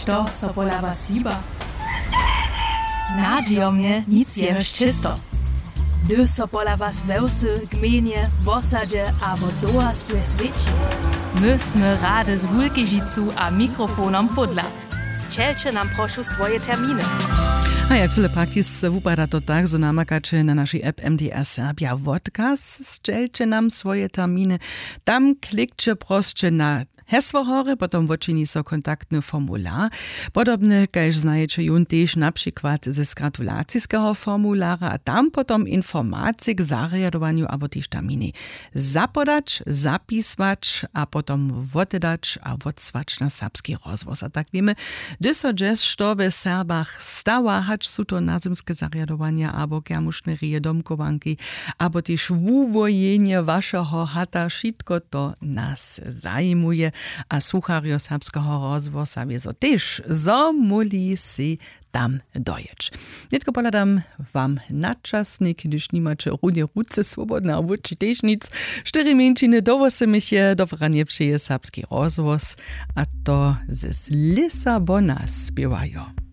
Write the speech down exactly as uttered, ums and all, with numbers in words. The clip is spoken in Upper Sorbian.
To so pola was hiba? Nadźijomnje nic jenož čěsto. Hdyž so pola was we wsy, gmejnje, wosadźe abo towarstwje swěći, my smy rady z wulkežicu a mikrofonom pódla. Sćelće nam prošu swoje terminy. A jak tyle pakis wupada to tak, zo namakaće na našej app M D R Serbia wodkaz, sćelće nam swoje terminy. Tam klikće prosće na hesło hory, potom wočini so kontaktny formular, podobny kaž znajeće jón tež na přikład ze gratulaciskeho formulara, a tam potom informacije k zarjadowanju abo tež termini zapodać, zapiswać a potom wotedać a wotsłać na Serbski rozhłos. A tak wěmy, hdyž so dźes što we Serbach stawa, hač su to nazymske zarjadowanja abo kermušne rěje, domchowanki abo tež wuwojenje wašeho hata, wšitko to nas zajimuje. A słucharjo Serbskeho rozhłosa wězo tež, zo móhli sej tam dojěć. Nětko pohladam wam na časnik, hdyž nimaće runje ruce swobodne a wući tež nic. Štyri mjeńšiny do wosomich je, dobre ranje přeje Serbski rozhłos, a to z Lisabona spěwajo.